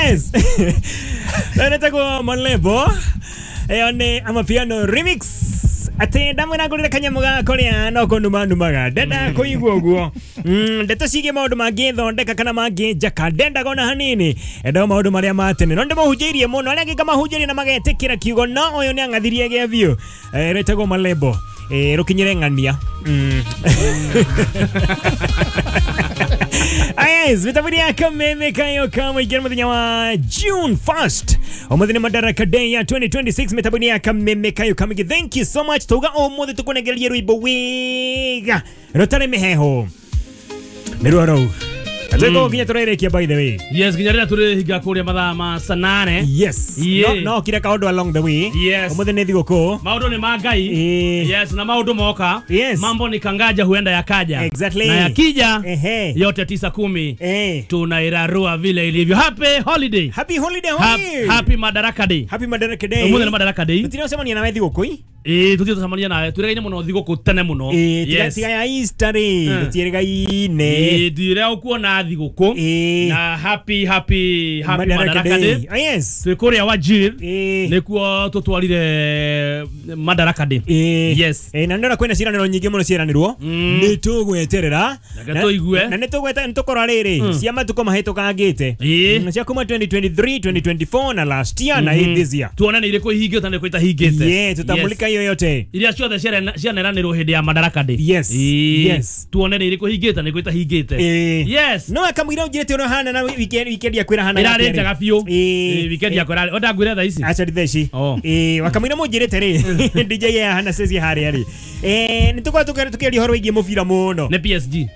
Yes. Netagwo Malebo. Ĩyo nĩ Amapiano remix. Atĩ ndamwĩra ngũrĩre kanyamũ ga kũrĩa no kũnuma numaga ndenda kũigua ũguo. Ndeto ciĩgiĩ maũndũ mangĩthondeka kana mangĩnjaka ndendaga ona hanini, endaga maũndũ marĩa ma tene, no ndĩmahunjĩirie mũno arĩa angĩ ngamahunjĩria na magetĩkĩra kiugo, no ũyũ nĩ ang'athirie gĩa biũ. Rĩtagwo Malebo. Rũkinyĩre ng'ania. Yes, mitambo ya Kameme kayo kama ikiwa muthenya wa June 1st. Umuthi nĩ Madaraka Day ya 2026, mitambo ya Kameme kayo kama. Thank you so much. Tuga umuthi tukunegeria rwimbo wega rutari miheho. Nĩ rwa rou. Tuko nginya tũrĩrĩkia, by the way. Yes, nginya rĩrĩa tũrĩhinga kũrĩa mathaa ma saa 8. Yes. No, no kira kaũndũ along the way. Umuthi nĩ thigũkũ. Maũndũ nĩ ma Ngai. Yes, na maũndũ moka. Mambo ni kangaja, huenda yakaja. Na yakija, yote 9, 10, tunairarua vile ilivyo. Happy holiday. Happy holiday. Happy Madaraka Day. Happy Madaraka Day. Umuthi nĩ Madaraka Day. Tũtiracemania nawe thigũkũ ĩ? Ĩĩ, tũthiĩ tũcemania nawe, twĩrĩgaine mũno thigũkũ tene mũno. Tiga tiga ya Easter rĩ, tũtiĩrĩgaine. Ĩĩ, ndire ũkuona thigũkũ. Na happy happy happy Madaraka Madaraka Day. Day. Ah, yes. Twĩ kũrĩa Wajir nĩkuo tũtwarire Madaraka Day. Yes. Na ndĩrona kwĩna ciĩranĩro nyingĩ mũno ciĩranĩrwo, nĩ tũgweterera. Reke tũigue. Na nĩ tũgweta, nĩ tũkora rĩrĩ cia matukũ mahĩtũkangĩte, cia kuma 2023, 2024 na last year na this year. Tuone nĩ irĩkũ ihingĩte na nĩ irĩkũ itahingĩte. Yeah, tutamulika hiyo yote. Iria ciothe cianeranĩrwo hĩndĩ ya Madaraka Day. Tuone nĩ irĩkũ ihingĩte na irĩkũ itahingĩte. Yes. No akamwĩra ũnjĩrĩte ũrĩa hana na weekend ya kwĩra hana. Ĩrarĩ njega biũ. Ĩĩ, weekend yakwa ĩrarĩ onda ngwĩre thaa ici. Aca thaa ici. Oh. Ĩĩ, wakamwĩra mũnjĩrĩte rĩ DJ ya hana ceci harĩa rĩ, nĩ tũkorwo tũkĩaria ũhoro wĩgiĩ mũbira mũno. Nĩ PSG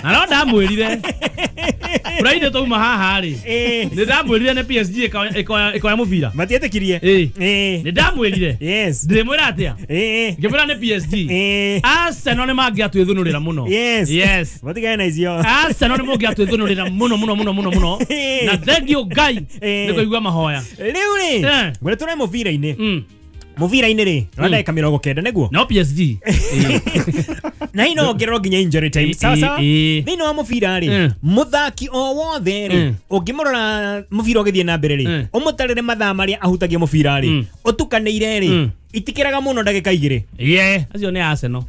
na no ndamwĩrire Friday twauma haha rĩ, nĩ ndamwĩrire nĩ PSG ĩkoya mũbira. Matietĩkirie. Nĩ ndamwĩrire. Ndĩmwĩra atĩa? Ngĩmwĩra nĩ PSG. Arsenal nĩ mangĩatwĩthũnũrĩra mũno. Yes. Matigane na icio. Arsenal nĩ mũngĩatwĩthũnũrĩra mũno mũno mũno mũno mũno, na thank you Ngai nĩ kũigua mahoya. Rĩu rĩ, ngwĩra tũre mũbira-inĩ. Mũbira-inĩ rĩ, wa ndagĩka 90 nĩguo. No PSG. Na hii no ongererwo nginya injury time. Sawa sawa. Thĩinĩ wa mũbira rĩ, mũthaki o wothe rĩ, ũngĩmũrora mũbira ũgĩthiĩ na mbere rĩ, ũmũtarĩre mathaa marĩa ahutagia mũbira rĩ, ũtukanĩire rĩ, itikĩraga mũno ndagĩka 2. Yeah, acio nĩ Arsenal.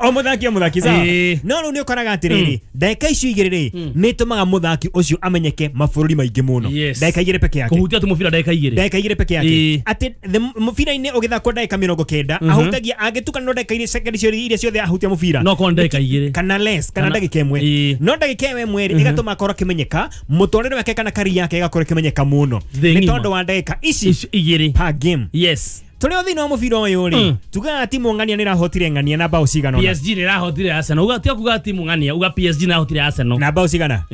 O mũthaki o mũthaki, sawa. No rĩu nĩ ũkoraga atĩrĩrĩ, ndagĩka icio 2 rĩ, nĩ ĩtũmaga mũthaki ũcio amenyeke mabũrũri maingĩ mũno. Ndagĩka 2 peke yake. Kũhutia tu mũbira ndagĩka 2. Ndagĩka 2 peke yake. Atĩ mũbira-inĩ ũgĩthakwo ndagĩka 90, ahutagia angĩtukanĩrwo ndagĩka iria sekondi ciothe iria ciothe ahutia mũbira. No korwo nĩ ndagĩka 2. Kana less kana ndagĩka 1. No ndagĩka ĩyo ĩmwe rĩ, ĩgatũma akorwo akĩmenyeka, mũtũrĩre wake kana kari yake ĩgakorwo ĩkĩmenyeka mũno Thĩ nĩ ng'ima. tondũ wa ndagĩka ici Icio 2. Per game. Tũrĩ o thĩinĩ wa mũbira ũyũ rĩ, tugaga timu ng'ania nĩ ĩrahotire ng'ania na bao cigana ũna. PSG nĩ ĩrahotire Arsenal. Uga tiga kuga timu ng'ania, uga PSG nĩ ĩrahotire Arsenal. Na bao cigana?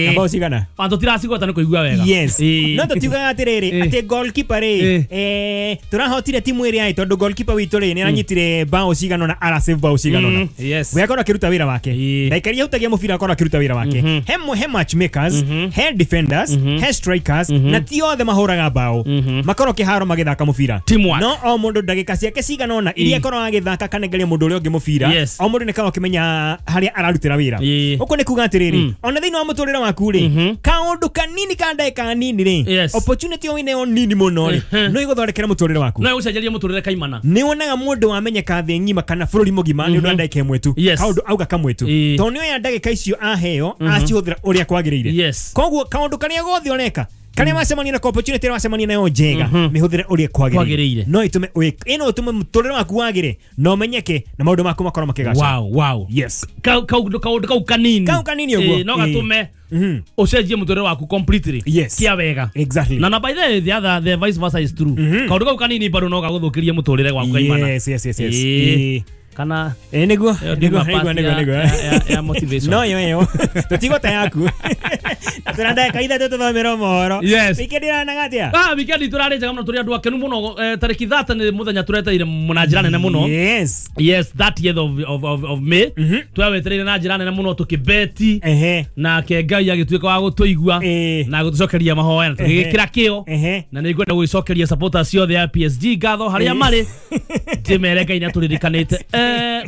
Na bao cigana? Antũ tiracigwata nĩ kũigua wega. Yes. No tũtiugaga atĩrĩrĩ, atĩ goalkeeper rĩ, tũrahotire timu ĩrĩa ĩ tondũ goalkeeper witũ rĩ, nĩ aranyitire bao cigana ũna, arasave bao cigana ũna. We akorwo akĩruta wĩra wake. Ndagĩka iria ahutagia mũbira akorwo akĩruta wĩra wake. He matchmakers, he defenders, he strikers, na ti othe mahũraga bao. Makorwo kĩharo magĩthaka mũbira. Teamwork. No o mũndũ ndagĩka ciake cigana ũna iria akorwo agĩthaka kanengeria mũndũ ũrĩa ũngĩ mũbira, o mũndũ nĩ akorwo akĩmenya harĩa ararutĩra wĩra. Ũguo nĩ kuga atĩrĩrĩ, ona thĩinĩ wa mũtũrĩre waku rĩ, kaũndũ kanini ka ndagĩka nini rĩ, opportunity o ĩneo nini mũno rĩ, no ĩgũthondekere mũtũrĩre waku. No ĩgũcenjerie mũtũrĩre kaimana. Nĩ wonaga mũndũ wamenyeka thĩ ng'ima kana bũrũri mũgima nĩ ũndũ wa ndagĩka 1 tu. Kaũndũ auga kamwe tu, tondũ nĩ oya ndagĩka icio aheo acihũthĩra ũrĩa kwagĩrĩire. Koguo kaũndũ karĩa gothe ũreka, karĩa wacemania nako, opportunity ĩrĩa wacemania nayo njega, mĩhũthĩre ũrĩa kwagĩrĩire. Kwagĩrĩire. No ĩtũme ĩno ĩtũme mũtũrĩre waku wagĩre na ũmenyeke na maũndũ maku makorwo makĩgaca. Yes. Kaũndũ kau kanini. Kau kanini ũguo. Ĩĩ, no gatũme ũcenjie mũtũrĩre waku completely. Kia wega. Na by the way, the other, the vice versa is true. Kaũndũ kau kanini bado no gagũthũkĩrie mũtũrĩre waku kaimana. Yes. Kana Nĩguo. ĩyo Nĩguo. ndiuma Nĩguo. part Nĩguo. Nĩguo. ya motivation. No yo ĩyo tũtigũta yaku na tũna ndagĩka 3 tũthomerwo mohoro. Weekend ĩranaga atĩa? Ah, weekend tũrarĩ njega mũno, tũrĩ andũ akenu mũno. Tarĩki 30 nĩ mũthenya tũreteire na njĩra nene mũno. Yes, 30th of May twawetereire na njĩra nene mũno tũkĩbeti, nake Ngai agĩtuĩka wa gũtũigua na gũtũcokeria mahoya na tũgĩgĩkĩra kĩo. Na nĩ ngwenda gũgĩcokeria supporters ciothe ya PSG ngatho harĩa marĩ, ndĩmere Ngai nĩ atũririkanĩte.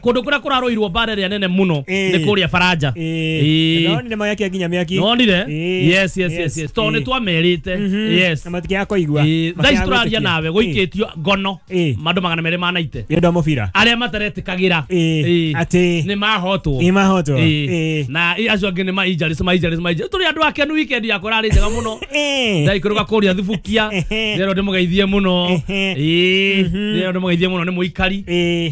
Kundu kuria kuraroirwo mbara ĩrĩa nene muno nĩ kũrĩa Faranja. Nonire mayakia nginya mĩaki. Nonire? Yes yes yes yes. Tondũ nĩ twamerĩte. Yes. Na matikia kũigua. Thaa ici tũraria nawe gũikĩtio ngono mandũ 290. Nĩ ũndũ wa mũbira. Arĩa mataretĩkagĩra. Atĩ nĩ mahotwo. Nĩ mahotwo. Na acio angĩ nĩ ma injuries ma injuries ma injuries. Tũrĩ andũ akenu weekend yakwa ĩrarĩ njega mũno. Ndaikũrũka kũrĩa Thubukia. Rĩero ndĩmũgeithie mũno. Rĩero ndĩmũgeithie mũno nĩ mũikari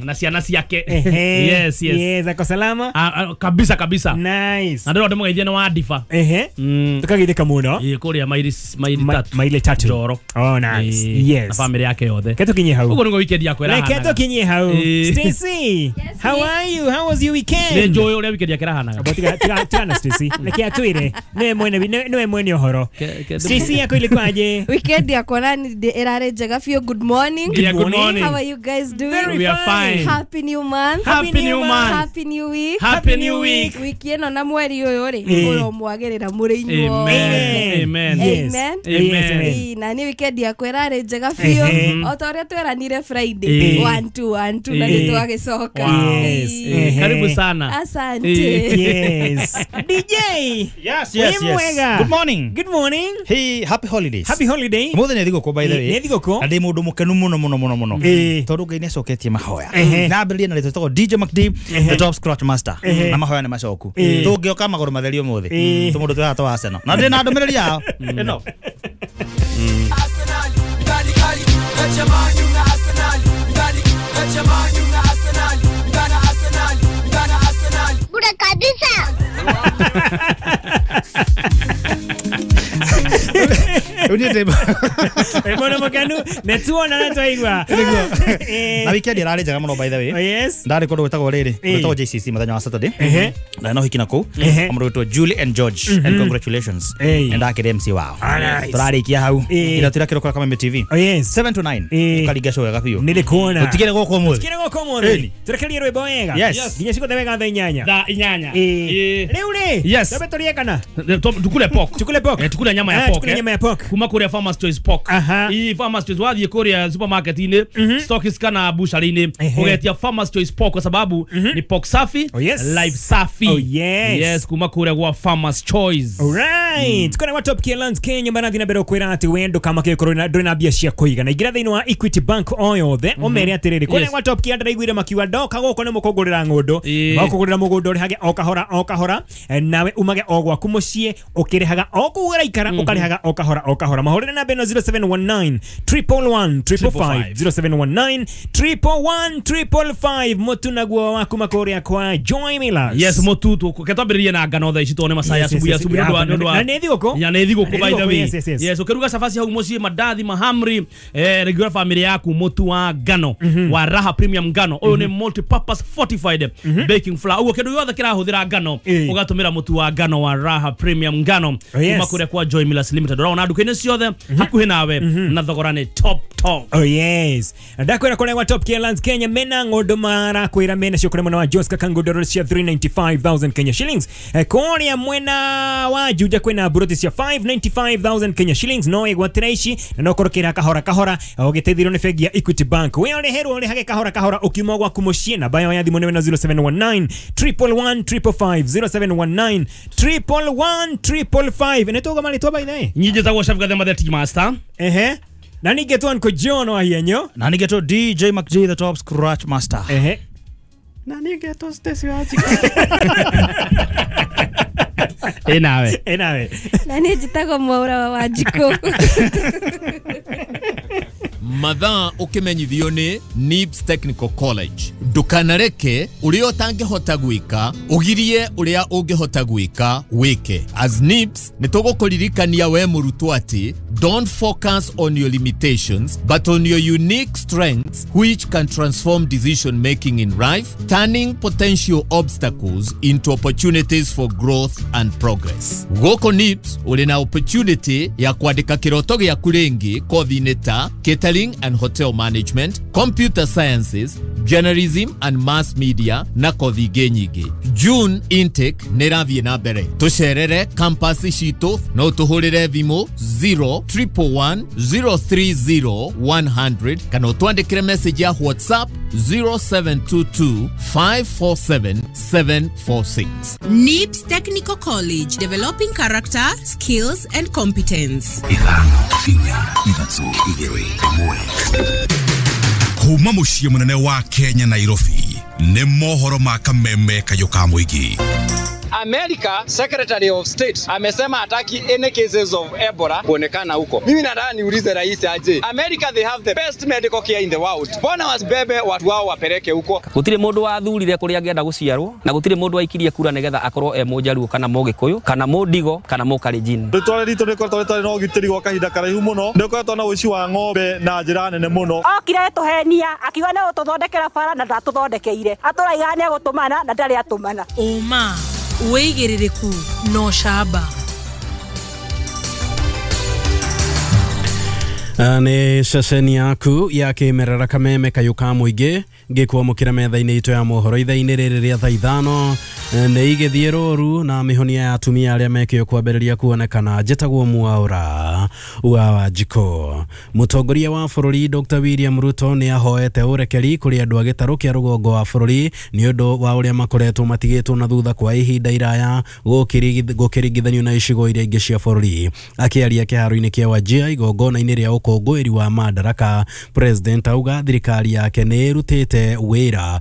na ciana ciake. Yes yes. Yes, ako salama. Kabisa kabisa. Nice. Na ndĩrona ndĩmũgeithie nĩ wa Difa. Tukageithĩka mũno. Kũrĩa maili tatu. Maili tatu. Njoro. Oh nice. Yes. Na family yake yothe. Reke tũkinyie hau. Ũguo nĩguo weekend yakwa ĩrahanaga. Reke tũkinyie hau. Stacy, how are you? How was your weekend? Nĩ njũĩ ũrĩa weekend yake ĩrahanaga. Tiga na Stacy. Reke atwĩre. Nĩwe mwene ũhoro. Stacy yako ilikuwaje? Weekend yakwa nani ĩrarĩ njega biũ. Good morning. Yeah, good morning. How are you guys doing? Very We are fine. Happy new month. Happy new month. Happy new week. Happy new week. Wiki ĩno na mweri ũyũ rĩ ũromwagĩrĩra mũrĩ inyuothe. Amen. Amen. Amen. Na ni weekend yakwa ĩrarĩ njega biũ. O ta ũrĩa tweranire Friday 1 2 1 2 na nĩ twagĩcoka. Yes. Karibu sana. Asante. Yes. DJ. Yes yes yes. Good morning. Good morning. Hey, happy holidays. Happy holiday. Mũthenya nĩ thigũkũ by the way. Nĩ thigũkũ. Na ndĩ mũndũ mũkenu mũno mũno mũno mũno. Tondũ Ngai nĩ acoketie mahoya. Na ambĩrĩrie na rĩtwa rĩtagwo DJ McD, the top scratch master. Na mahoya nĩ macoku. Tũngĩoka magũrũ matheri ũmũthĩ. Tũmũndũ twĩ haha twa Arsenal. Na ndĩ na ndũmĩrĩri yao. Ĩno. Bure kabisa. Mbona mukanu netuona na twaigua. Na weekend ĩrarĩ njega mũno by the way. Yes. Ndarĩ kũndũ gwĩtagwo rĩrĩ, gwĩtagwo JCC mũthenya wa Saturday. Na no hiki na kũu. Mũndũ wĩtwo Julie and George and congratulations. Na ndakĩrĩ MC wao. Tũrarĩkia hau. Ira tũrakĩrwo kũrĩa Kameme TV. 7 to 9. Tũkaringa show wega biũ. Nĩndĩkuona. Tũtigere gũkũ ũmũthĩ. Tũtigere gũkũ ũmũthĩ. Tũrekerie rwĩmbo wega. Nginya cikũthe wega thaa inyanya. Thaa inyanya. Rĩu rĩ. Twambe tũrĩe kana? Tukule pork. Tukule pork. Tukule nyama ya pork. Tukule nyama ya pork. Kuma kũrĩa Farmers Choice Pork. Ii Farmers Choice wathiĩ kũrĩa supermarket-inĩ, stocks kana butchery-inĩ, ũgetia Farmers Choice Pork kwa sababu ni pork safi, life safi. Oh yes. Yes, kuma kũrĩa gwa Farmers Choice. Alright. Kuna wa Top Lands Kenya marathi na mbere kwĩra atĩ wendo kama kĩkorwo ndũrĩ na mbia cia kũigana. Ingĩra thĩinĩ wa Equity Bank o yothe ũmere atĩrĩrĩ kũrĩa gwa Top Kia ndĩraiguire makiuga ndoka gũkũ nĩ mũkũngũrĩra ng'ũndũ. Makũgũrĩra mũgũnda ũrĩhage o kahora o kahora nawe umage o gwaku mũciĩ ũkĩrĩhaga o kũu ũraikara ũkarĩhaga o kahora o kahora. Mahũrĩre namba ĩno 0719 111 555 0719 111 555 mũtu naguo wa kuma kũrĩa kwa Joy Millers. Yes, mũtu ketwambĩrĩrie na ngano thaa ici tone macaya asubuhi asubuhi nĩ na nĩ thigũkũ. Ya nĩ thigũkũ by the way. Yes, ũkĩruga cabaci hau mũciĩ mandathi mahamri regular family yaku mũtu wa ngano wa Raha Premium ngano. Ũyũ nĩ multi-purpose fortified baking flour. Ũguo kĩndũ gĩothe kĩrahũthĩra ngano ũgatũmĩra mũtu wa ngano wa Raha Premium ngano kuma kũrĩa kwa Joy Millers Limited. Ũrona nduka-inĩ ciothe hakuhĩ nawe na thogora nĩ top top. Oh yes. Ndakwĩra kũrĩa gwa Top Lands Kenya mena ng'ũndũ marakwĩra mena cio kũrĩa mwena wa Joska Kangodoro cia 395,000 Kenya shillings. Kũrĩa mwena wa Juja kwĩna buroti cia 595,000 Kenya shillings no ĩgwatĩra ici na no korwo kĩra kahora kahora ũgĩteithĩrwo nĩ bengi ya Equity Bank. We ũrĩherwo ũrĩhage kahora kahora ũkiuma gwaku mũciĩ. Namba yao ya thimũ nĩ 0719 111 555 0719 111 555. Nĩ tũga marĩtwa by the way. Nyinyi njĩtagwo Chef Gathema the Tea Master. Ehe. Na ningetwo Uncle John wa hienyo. Na ningetwo DJ McG the top scratch master. Ehe. Na ningetwo Stacy Wajika. Enawe. Enawe. Na niĩ njĩtagwo Mwaura wa Wanjikũ. Mathaa ũkĩmenyithio nĩ NIBS Technical College. Ndũkanareke ũrĩa ũtangĩhota gwĩka ũgirie ũrĩa ũngĩhota gwĩka wĩke. As NIBS nĩ tũgũkũririkania we mũrutwo atĩ don't focus on your limitations but on your unique strengths which can transform decision making in life, turning potential obstacles into opportunities for growth and progress. Gũkũ NIBS ũrĩ na opportunity ya kwandĩka kĩroto gĩaku rĩngĩ kothi-inĩ ta catering and hotel management, computer sciences, Journalism and Mass Media na kothi ingĩ nyingĩ. June intake nĩ ĩrathiĩ na mbere. Tũcerere campus citũ no tũhũrĩre thimũ 0111 030 100 kana ũtwandĩkĩre message ya WhatsApp 0722 547 746. NIBS Technical College, developing character, skills and competence. Ithano, inya, ithatũ, igĩrĩ, ĩmwe. Kuma mũciĩ mũnene wa Kenya Nairobi nĩ mohoro ma kameme kayũ ka mũingĩ. America Secretary of State amesema hataki any cases of Ebola kuonekana huko. Mimi nataka niulize rais aje. America, they have the best medical care in the world. Mbona wasibebe watu wao wapeleke huko? Gutire mundu wathurire kuria angĩenda guciarwo na gutire mundu waikirie kura nigetha akorwo e Mũjaruo kana Mũgĩkũyũ kana Mũndigo kana Mũkalenjin. Rĩtwa ritũ rĩkoretwo rĩtarĩ na ũgitĩri gwa kahinda karaihu mũno. Nĩũkoretwo na ũici wa ng'ombe na njĩra nene mũno. Okire tũhenia akiuga nĩ gũtũthondekera bara na ndatũthondekeire. Atũraiga nĩ egũtũmana na ndarĩ atũmana. Ũma wĩigĩrĩrĩku no camba. Nĩ ceceni yaku ya kĩmerera kameme kayũ ka mũingĩ ngĩkwamũkĩra metha-inĩ itũ ya mohoro ithaa-inĩ rĩrĩ rĩa thaa ithano. Nĩ igĩthiĩ rũru na mĩhonia ya atumia arĩa mekĩo kwambĩrĩria kuonekana. Njĩtagwo Mwaũra wa Wanjikũ. Mũtongoria wa bũrũri Dr. William Ruto nĩ ahoete ũrekeri kũrĩ andũ a gĩtarũ kĩa rũgongo wa bũrũri nĩ ũndũ wa ũrĩa makoretwo matigĩtwo na thutha kwa ihinda iraya gũkĩringithanio na icigo iria ingĩ cia bũrũri. Akĩaria kĩharo-inĩ kĩa Wajir igongona-inĩ rĩa ũkũngũĩri wa Madaraka, President auga thirikari yake nĩ ĩrutĩte wĩra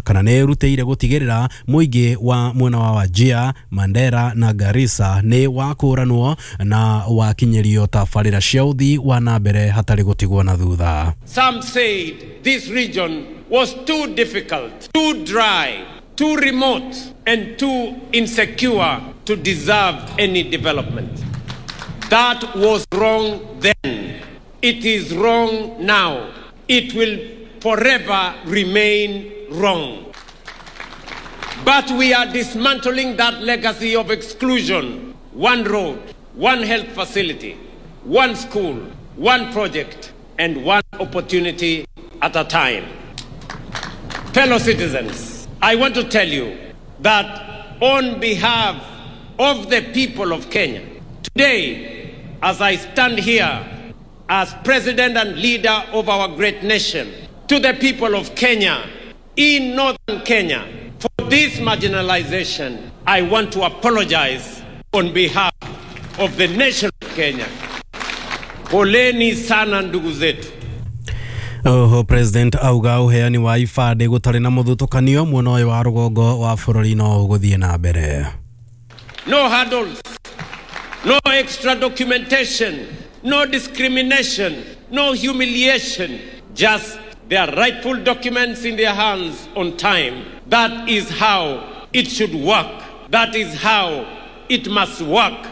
kana nĩ ĩrutĩire gũtigĩrĩra mũingĩ wa mwena wa Wajir, Mandera na Garissa nĩ wakũranwo na wakinyĩrio tabarĩra cia ũthii wa na mbere hatarĩ gũtigwo na thutha. Some said this region was too difficult, too dry, too remote and too insecure to deserve any development. That was wrong then. It is wrong now. It will forever remain wrong. But we are dismantling that legacy of exclusion. One road, one health facility, one school, one project, and one opportunity at a time. Fellow citizens, I want to tell you that on behalf of the people of Kenya, today, as I stand here as president and leader of our great nation, to the people of Kenya, in northern Kenya, for this marginalization, I want to apologize on behalf of the nation of Kenya. Poleni sana ndugu zetu. Oho President auga uheani wa ibandĩ gũtarĩ na mũthutũkanio mwena ũyũ wa rũgongo wa bũrũri no ũgũthiĩ na mbere. No hurdles, no extra documentation, no discrimination, no humiliation, just their rightful documents in their hands on time. That is how it should work. That is how it must work.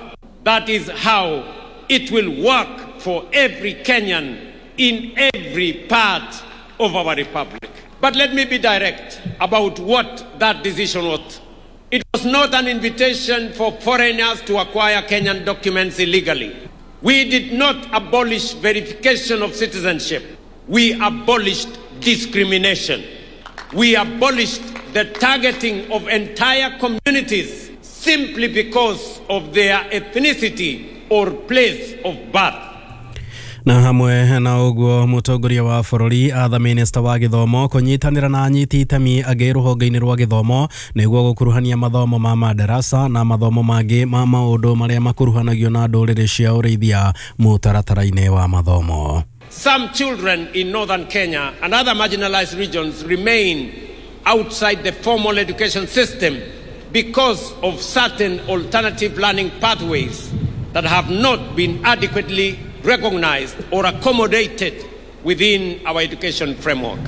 That is how it will work for every Kenyan in every part of our republic. But let me be direct about what that decision was. It was not an invitation for foreigners to acquire Kenyan documents illegally. We did not abolish verification of citizenship. We abolished discrimination. We abolished the targeting of entire communities simply because of their ethnicity or place of birth. Na hamwe na ũguo mũtongoria wa bũrũri atha minista wa gĩthomo kũnyitanĩra na anyiti itemi angĩ rũhonge-inĩ rwa gĩthomo nĩguo gũkuruhania mathomo ma madarasa na mathomo mangĩ ma maũndũ marĩa makuruhanagio na ndũrĩrĩ cia ũrĩithia mũtaratara-inĩ wa mathomo. Some children in northern Kenya and other marginalized regions remain outside the formal education system because of certain alternative learning pathways that have not been adequately recognized or accommodated within our education framework.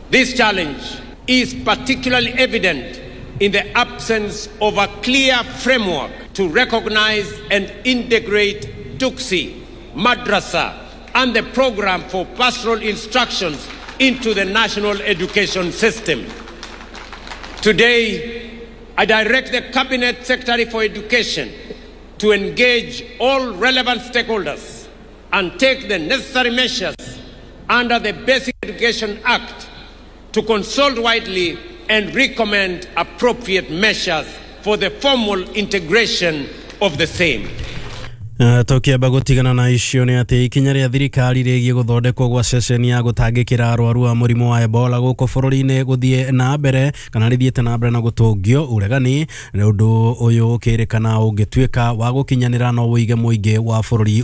This challenge is particularly evident in the absence of a clear framework to recognize and integrate Duksi, Madrasa, and the program for pastoral instructions into the national education system. Today, I direct the Cabinet Secretary for Education to engage all relevant stakeholders and take the necessary measures under the Basic Education Act to consult widely and recommend appropriate measures for the formal integration of the same. Tũkĩamba gũtigana na icio nĩ atĩ ikinya rĩa thirikari rĩgiĩ gũthondekwo gwa ceceni ya gũtangĩkĩra arwaru a mũrimũ wa Ebola gũkũ bũrũri-inĩ gũthiĩ na mbere kana rĩthiĩte na mbere na gũtũngio ũregani, ũndũ ũyũ ũkĩrĩkana ũngĩtuĩka wa gũkinyanĩra no ũige mũingĩ wa bũrũri.